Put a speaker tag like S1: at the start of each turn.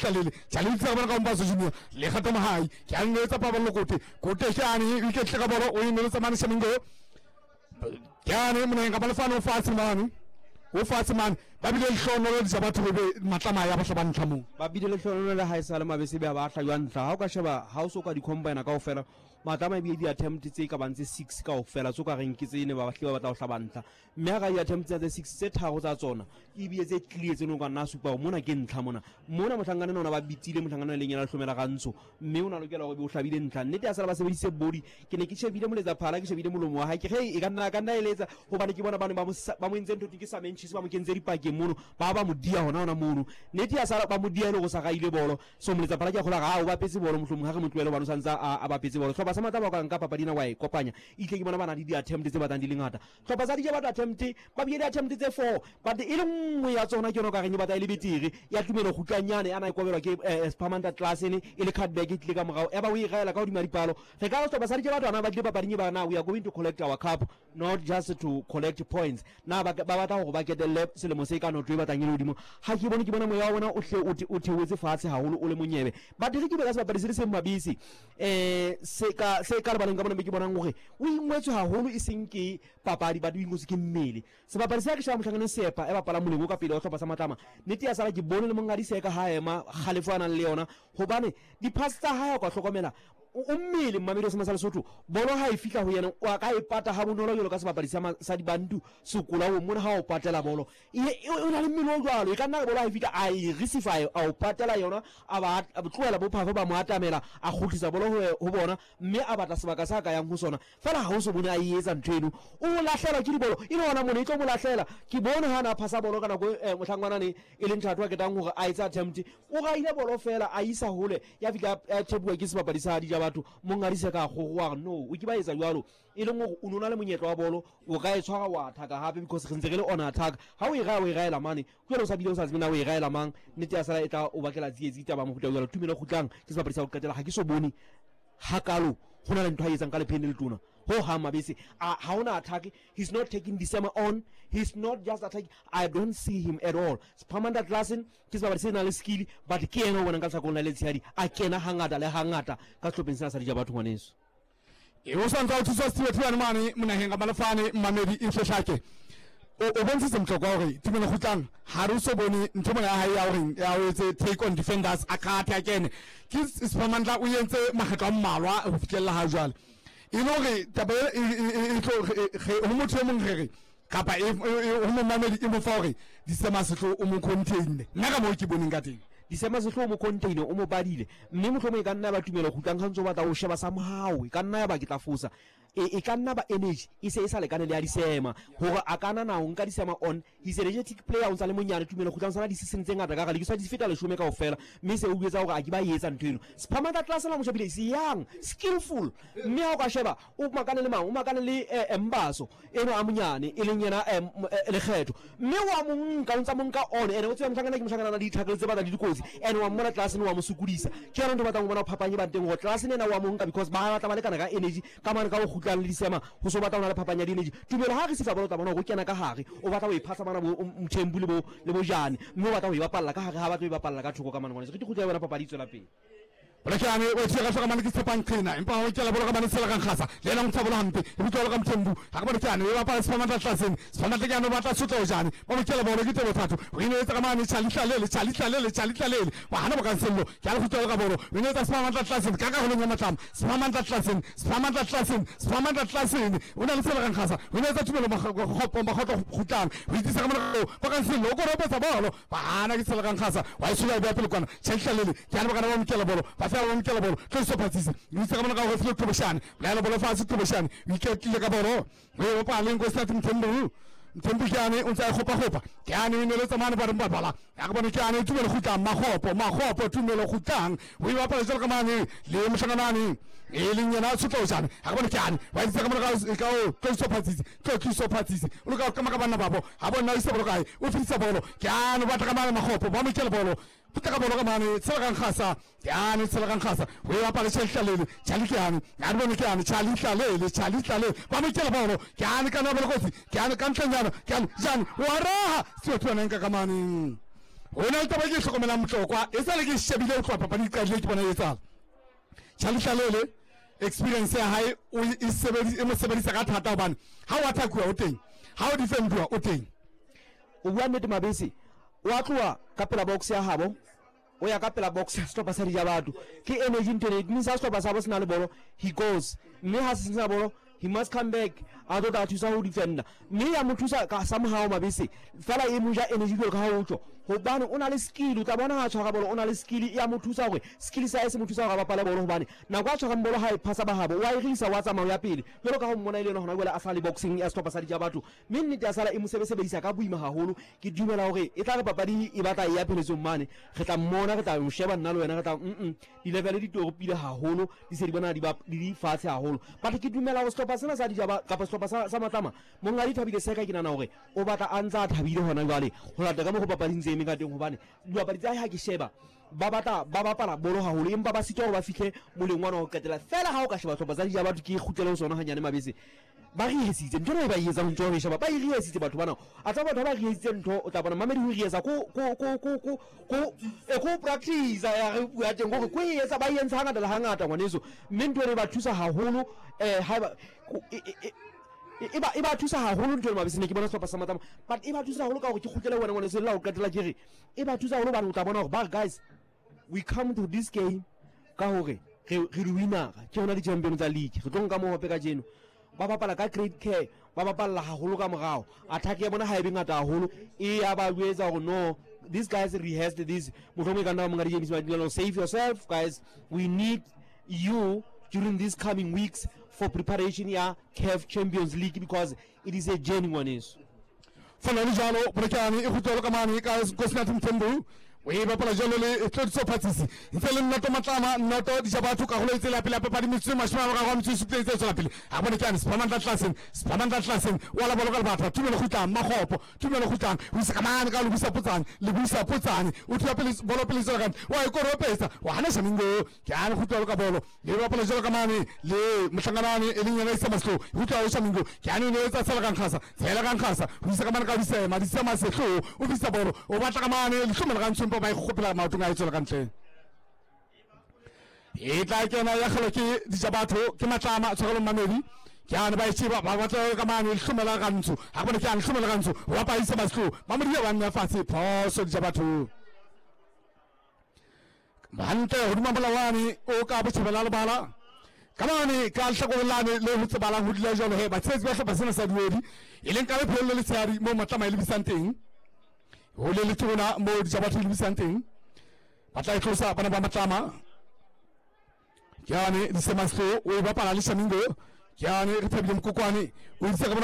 S1: Tlalele Tlalele tsela bona ka Mbaso Junior le kgato mahai ke a nneletsa paballo kote kote ke ane o iketle ka bolo o e neletsa mane Shamingo ke ane moneng ka balefane o fatshe mane o fatshe mane ba bile lehlohonolo dija batho be matlama ya bahla ba ntlha moo
S2: ba bile lehlohonolo le ha e sa le mabese be ba hlajwa ntlha ha o ka sheba ha o so ka di-combine kaofela matlama ebile di-attempt tse ka bang tse six kaofela tso ka reng ke tse ne ba bahlile ba batla ho hlaba ntlha mme ha ka di-attempt tsa tse six tse tharo tsa tsona ebile tse clear tse no ka nna supa gore mona ke ntlha mona mona mohlankane ona ba bitsile mohlankane e leng yena lehlomela rantsho mme o na lokela gore be o hlabile ntlha nnete ya sala ba sebedise body ke ne ke shebile moletsa phala ke shebile molomo wa hae ke ge e ka nna ka nna eletsa gobane ke bona ba ne ba mo entse ntho ke sa mentšhise ba mo kentse dipakeng mono ba ba mo dia hona hona mono nnete ya sala ba mo dia e le go sa gaile bolo so moletsa phala ke a kgola ga o bapetse bolo mohlomong ga re mo tlohele gobane o santse a bapetse bolo tlhopha sa matla ba ka nka papadi ena wa e kopanya itle ke bona ba na le di-attempt tse batlang di le ngata tlhopha sa dija batho attempt ba bile di-attempt tse four but e le nngwe ya tsona ke yone o ka reng e batla e le betere ya tumelo kgutlanyane a na e kobelwa ke spamanta classene e le cutback e tlile ka morago ya ba o e gaela ka godimo dipalo re ka re setlhopha sa dija batho ana ba tlile papading e ba na we are going to collect our cup not just to collect points na ba batla gore ba ketelle selemo se ka noto e batlang e le godimo ga ke bone ke bona moya wa bona o hle o theoetse fatshe gagolo o le monyebe but re ke be ka sebapadi se le seng mabese um se ka se ka lebaleng ka bona be ke bonang gore o ingwetswe haholo e seng ke papadi but o ingwetswe ke mmele sebapadi se ke shaba motlhanganeng sepa e bapala moleng o ka pele wa tlhopha sa matlama nnete ya sala ke bone le mongadi seka ha ema kgalefo a nang le yona gobane di-pass tsa hae o ka hlokomela o mmele mmamedi wa sema sa lesotho bolo ha e fitlha go yena o a ka e pata ga bonolo jalo ka sebapadi sa dibantu sekola o mona ha o patela bolo o na le mmele o jalo e ka nna bolo ha e fitlha a e receive a o patela yona a ba tlohela bophafo ba mo atamela a kgutlisa bolo ho bona mme a batla sebaka sa ka yang ho sona fela ha o so bone a e etsa ntho eno o lahlelwa ke dibolo e le gona mone e tlo mo lahlela ke bone ha na phasa bolo ka nako mohlangwanane e leng thato a ketang gore a etsa attempt o gaile bolo fela a isa hole ya fitlha a thebuwa ke sebapadi sa dija batho mongadise ka gogoa no o ke ba etsa jalo e leng gore o ne o na le monyetla wa bolo o ka e tshwara wa attack gape because re ntse re le on attack ga o e raya o e raela mane jalo o sa bile o sa tsebe na o e raela mang nnete ya sala e tla o bakela tsietsi taba mohuta jalo tumelo kgutlang ke sebapadi sa go qetela ga ke so bone hakalo go na le ntho a etsang ka lepheng le letona ho hang mabese ha ona attack. He's not taking December on, he's not just attacking. I don't see him at all. Spamanda Klassen ke sebapadi se nang le skill but ke ena o bonang ka letlhakong la letshehadi a kena hangata le hangata ka sehlopheng sena sa dija batho ngwaneso.
S1: E o santse o thusa Steve Thulane mane monaheng ka malefane mmamedi e hlake o bontshitse mohlokwa hore tumelo kgutlang ha re so bone ntho mona ya hae ya hore ya o etse take on defenders a kgathe a kene ke Siphamandla o entse makgetlo a mmalwa ho fihlella ha jwale e le hore taba e tlo ho motho e mong re re kapa ho momamedi e mo fa hore Disema Sehloho o mo containe nna ka moo ke boneng ka teng.
S2: Disema Sehloho o mo containe o mo badile mme mohlomong e ka nna ya ba tumelo kgutlang ga ntse o batla o sheba somehow e ka nna ya ba ke tla fosa e ka nna ba energy e se e sa lekane le ya Disema gore a ka nana o nka Disema on. He's a energetic player o ntsa le monyane tumelo kgutlang sana di-season tse ngata ka gale ke sa di feta leshome kao fela mme se o etsa gore a ke ba etsa ntho eno. Siphamandla Klassen la mo shebile is young skillful mme ha o ka sheba o makane le mang o makane le Mbaso eno a monyane e leng yena lekgetho mme wa mo nka o ntsa mo nka on ene o tseba mohlankana ke mohlankana na le di-tackle tse batlang le dikotsi ene wa mmona Klassen wa mo sokodisa ke yona ntho batlang go bona phapang e bang teng gore Klassen ena wa mo nka because ba batla ba lekana ka energy ka mane ka go kgutlang le disema go so batla go na le phapang ya di-energy tumelo ha re sifa bolo tla bona go kena ka gare o batla go e phasa bana bo Mthembu le bo le bojane mme o batla go e bapalla ka gare ga batla go e bapalla ka thoko ka mane ngwane re ke kgutla ya bona papadi e tswela pele.
S1: Bolekane o tshega hloka mane ke tshepang qena empa o kela bolo ka mane tshela kang kgasa le yena o ntsha bolo hampe e butwa ka Mthembu ga ke bone ke ane e bapala Siphamandla Klassen Siphamandla ke ane o batla sotla o jane ba mo kela bolo ke tebo thato o ine etsa ka mane Charlie Tlalele Charlie Tlalele Charlie Tlalele wa hana bokansello ke a le kgutla ka bolo o ine etsa Siphamandla Klassen ka ka holong ya matlama Siphamandla Klassen Siphamandla Klassen Siphamandla Klassen o na le tshela kang kgasa o ine etsa tumelo makgopo makgotlo kgutlang o itsisa ka mane bokansello o koropetsa bolo ba hana ke tshela kang kgasa wa e tshola e bea pele kwana Charlie Tlalele ke a lebakana ba mokela bolo ba fela ba mokela bolo tlo phatsise o itse ka bona ka go file Qhobosheane laela bolo fatshe Qhobosheane o iketlile ka bolo o e bapala nko sa Mthembu Mthembu ke ane o ntse a kgopa-kgopa ke ane o neletsa mane ba reng ba bala ya ke bone ke ane tumelo kgutlang makgopo makgopo tumelo kgutlang o e bapala jalo ka mane le mohlakanane e leng yena Tshotlojane ga ke bone ke ane wa itse ka mona ka o tlo phatsise tlo phatsise o loka ka maka banna babo ga bona o isa bolo kae o fetisa bolo ke ane o batla ka mane makgopo ba mokela bolo Phutla ka bolo ka mane tshela kang gasa ke ane tshela kang gasa o e bapale Charlie Tlalele Charlie ke ane a re bone ke ane Charlie Tlalele Charlie Tlalele ba mo kela bolo ke ane kana bolo kotsi ke ane ka ntleng yana ke ane jane wa raha se o tshwana nka ka mane. Go na le taba e ke e hlokomelang Motlokwa, e sa le ke shebile go tloga papadi e qadile ke bona e etsala. Charlie Hlalele experience ya hae o e sebedisa e mo sebedisa ka thata hobane ha o attackuwa o teng, ha o defenduwa o teng.
S2: O bua nnete Mabese, o a tloha ka pela box ya habo, o ya ka pela box ya sehlopha sa Dijabatho. Ke energy ntho ena, it means ha sehlopha sa habo se na le bolo, he goes. Mme ha se sena bolo, he must come back a tlo tla thusa ho defender. Mme ya mo thusa ka somehow Mabese, fela e mo ja energy jwalo ka ha o tjho. Hobane o na le skill, o tla bona ha a tshwara bolo o na le skill, e ya mo thusa hore skill sa hae se mo thusa hore a bapale bolo hobane nako a tshwarang bolo ha e phasa ba habo, o a e risa, wa tsamaya o ya pele. Jwalo ka ha o mmona e le yena hona jwale a sa le boxing ya sehlopha sa Dijabatho. Mme nnete ya sala e mo sebesebedisa ka boima haholo. Ke dumela hore e tla re papadi e batla e ya pheletsong mane, re tla mmona, re tla mo sheba nna le wena, re tla mm di-level di toropile haholo, di se di bona di ba di di fatshe haholo. But ke dumela hore sehlopha sena sa Dijaba kapa sehlopha sa, sa Matlama, Monghadi Thabile Seka ke nahana hore o batla a ntsa a thabile hona jwale ho lata ka mokgo papadi ntse eme ka teng, hobane dibapadi tsa hae ha ke sheba ba batla ba bapala bolo haholo, empa ba sitwa hore ba fihle moleng wana wa ho qetela. Feela ha o ka sheba sehlopha sa Dijaba, ke kgutlele ho sona hanyane Mabese, Ba rihesitse ntho ena e ba e etsang ntho e sheba ba e rihesitse batho bana a tsa batho ba rihesitse ntho o tla bona mamedi ho rihesa ko ko ko ko ko ko e ko practice ya re bua teng gore ko e etsa ba e entse hangata le hangata ngwaneso mme ntho ena e ba thusa haholo eh ha ba e ba e ba thusa haholo ntho ena mabese ne ke bona sehlopha sa Matlama but e ba thusa haholo ka gore ke kgutlele wena ngwaneso la o qetela ke re e ba thusa haholo bane o tla bona gore ba guys We come to this game ka hore re re di-winner-a, ke rona di-champion tsa league. Re tlo nka mohope kajeno. Ba bapala ka great care, ba bapalla haholo ka morao. Attack ya bona ha e be ngata haholo, e ya ba jwetsa hore no, these guys rehearsed this. Mohlomong e ka nna ba Monghadi James Madilelo, save yourself guys, we need you during these coming weeks for preparation ya CAF Champions League because it is a journey ngwaneso.
S1: Fela le jalo Polokwane e kgutlelo ka mane ka Nkosinathi Mthembu o e bapala jalo le Tlodiso Phatsisi ntse le nnoto Matlama nnoto dija batho karolo e tsela pele ya papadi metsotso e mashome a mararo a metso e supileng tse tswela pele a bone ke ane Siphamandla Tlaseng Siphamandla Tlaseng wa la bolo ka lebatha Tumelo Kgutlang Makgopo Tumelo Kgutlang o isa ka mane ka Lebisa Potsane Lebisa Potsane o thula pele bolo pele tswela ka wa e koropetsa wa hana Shamingo ke ane kgutlelo ka bolo le bapala jalo ka mane le mohlanganane e leng yena isa maslo utlwa o shamingo ke ane ne etsa tsela ka nkgasa tsela ka nkgasa o isa ka mane ka disema disema sehlo o fisa bolo o batla ka mane lehlomela ka ntshompa ba e kgopela maotong a e tswela ka ntle e tla kena ya kgelo ke dijabatho ke matlama tshwarelo mmamedi ke ane ba e sheba ba batla ka mane lehlomela ka ntsho ga bone ke ane lehlomela ka ntsho wa pa isa maslo ba mo dia ba nna fatshe phoso dijabatho Hantle hodima molawane o ka botjhabela lebala ka mane ka lehlakoreng lane le ho tsebalang ho dula jwalo he batshehetsi ba hlopha sena sa diodi e leng ka lephelo le letshehadi moo Matlama e lebisang teng ho le letona moo Dijabatho e lebisang teng ba tla e tlosa bana ba Matlama ke yane Disemaslo o e bapala le Shamingo ke yane re thabile Mokokwane o itse ka